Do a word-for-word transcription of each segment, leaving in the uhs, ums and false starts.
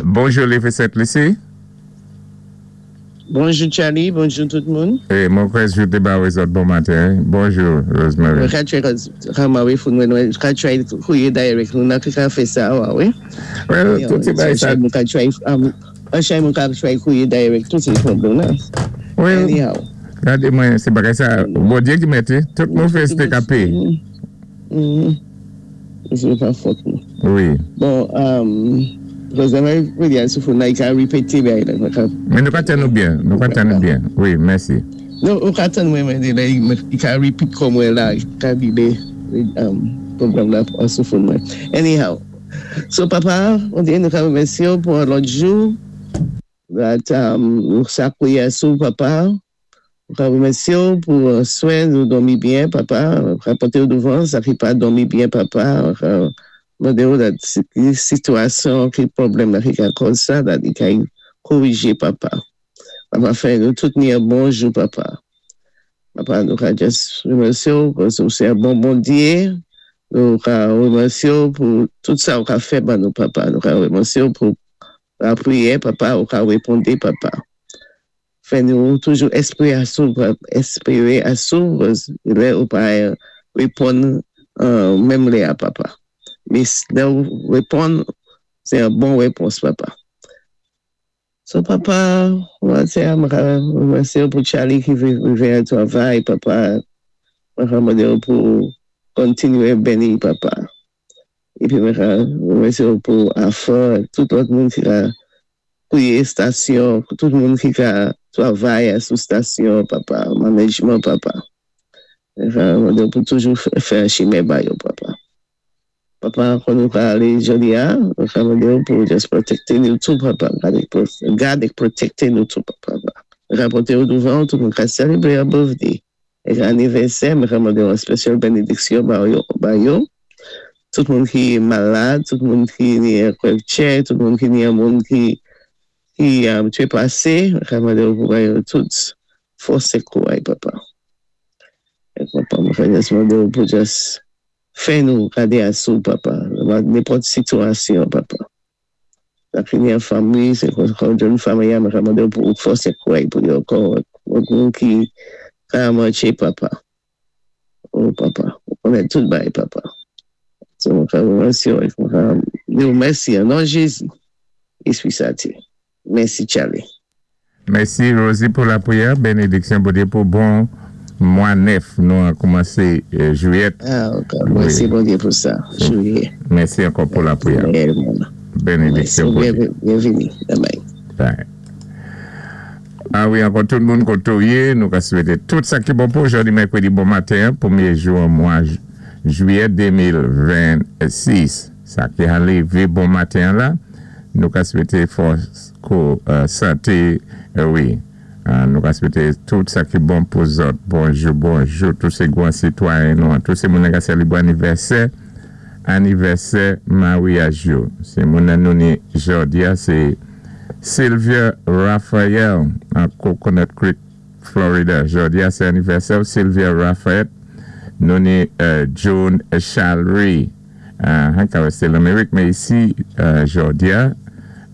Bonjou, Lévé Sent Lisi. Bonjou, Charlie, bonjou tout moun. É mwen kwè jwité ba wé bon maten. Bonjou, Rosemary. Mwen ka try kama wé foun mwen, mwen ka try kouwé direct, nou nan ki ka fè sa, wé. Well, tout sé bay sa. Mwen ka try, an chay mwen ka try kouwé direct, tout sé pwoblèm nan. Well, Anyhow. Gadé mwen, sé bagay sa, Bondyé ki mété, tout moun fè sé kapé. Mhm. Se pa fòt nou. Wi. Bon, um, Rosemary, wè sou foun nan, i ka repété bay la. Men nou ka tann nou byen, nou ka tann nou byen. Wi, mèsi. Nou, ou ka tann mwen mwen di la, i ka repeat kon mwen la, i ka di de, um, pwogram la an sou foun mwen. Anyhow, so papa, on di nou ka remèsyé ou pou an lòt jou, that um, nou sa kouye sou papa, nou ka remèsyé ou pou uh, swen nou dòmi byen, papa, nou ka poté ou douvan, sa ki pa dòmi byen, papa, nou ka mandé ou that si sitwasyon ki pwoblèm la ki ka kòz sa, that i ka korijé, papa. Papa fè nou tout ni an bon jou, papa. Papa, nou ka just remèsyé ou, paski ou sé an bon Bondyé, nou ka remèsyé ou pou tout sa ou ka fè ban nou, papa. Nou ka remèsyé ou pou la priyè, papa, ou ka wépondé, papa. Fè nou toujou espéré asou, espéré asou, paski lè ou pa wéponn euh, menm lè a, papa. Mé lè ou wéponn, sé an bon wépons, papa. So, papa, mwen sé mwen ka remèsyé ou pou Charlie ki rivé a travay, papa. Mwen ka mandé ou pou kontinyé béni, papa. Épi mwen ka remèsyé ou pou Afa, tout lòt moun ki ka kouwé stasyon, tout moun ki ka travay sou stasyon, papa, management, papa. Mwen ka mandé ou pou toujou fè chimen ba yo, papa. Papa, kon nou ka alé jòdi a, mwen ka mandé ou pou just pwotékté nou tou, papa. Gad é pwotékté nou tou, papa. Mwen ka poté ou douvan, tout moun ka sélébwé a birthday. É anivèsè, mwen ka mandé ou an spesyal bénédiksyon ba yo, ba yo. Tout moun ki malad, tout moun ki ni an kwèvtchè, tout moun ki ni an moun ki ki um, trépasé, mwen ka mandé ou pou ba yo tout fòs é kouway, papa. É papa, mwen ka just mandé ou pou just fè nou gadé asou, papa. Nenpòt sitwasyon, papa. Sa ki ni an fanmi, sé kon kon jòn fanmi mwen ka mandé ou pou fòs é kouway pou yo kon moun ki ka matché, papa. Oh, papa. Ou konnen tout bay, papa. So, mwen ka remèsyé ou, mwen ka di ou mèsi, an non Jézi. Espri Senti. Mèsi, Charlie. Mèsi, Rosie, pou la priyè. Bénédiksyon Bondyé pou bon mwa nèf. Nou an koumansé euh, jwiyèt. Ah, ok. Mèsi Bondyé pou sa. Jwiyè. Mèsi ankò pou la priyè. Bénédiksyon Bondyé. Byenvini. Bye bye. Bye. Ah wi, ankò tout moun koté ou yé, nou ka swété tout sa ki bon pou jòdi mèkwédi bon maten, pwémyé jou an mwa jwiyè de mil vennsis. Sa ki an lévé bon maten la, nou ka swété fòs kou euh, santé, euh, wi. Euh, nou ka swété tout sa ki bon pou zòt. Bonjou, bonjou, tout sé gwan sitwayen nou, tout sé moun ka sélébwé anivèsè, anivèsè maryaj yo. Sé moun nou ni jòdi a, sé Sylvia Raphael an Coconut Creek, Florida. Jòdi a sé anivèsè Sylvia Raphael. Nou ni euh, Joan Chalry, uh, ka wé l'Amérik, mé isi euh, jòdi a,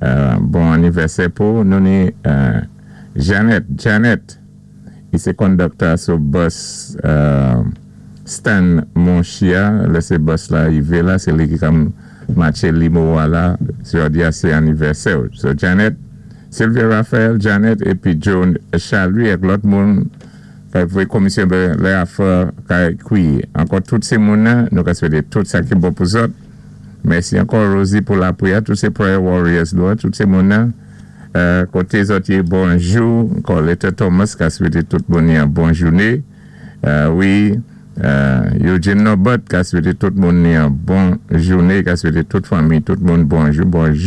euh, bon anivèsè pou nou ni euh, Janet, Janet, i sé conductor sou bus euh, Stan Monchia, lè sé bus la yivé la, sé li ki kam matché limo la, jòdi a sé anivèsè. So Janet, Sylvia Raphael, Janet, épi Joan Chalry, ak lòt moun, kay voyé komisyon lè afè kay kwi. Ankò tout sé moun nan, nou ka swété tout sa ki bon pou zòt. Mèsi ankò, Rosie, pou la priyè, tout sé prayer warriors nou, tout sé moun nan. Euh, koté zòt yé, bonjou. Ankò Leta Thomas ka swété tout moun ni an bon jouné. Euh, wi, euh, Eugene Norbert ka swété tout moun ni an bon jouné, ka swété tout fanmi, tout moun bonjou, bonjou.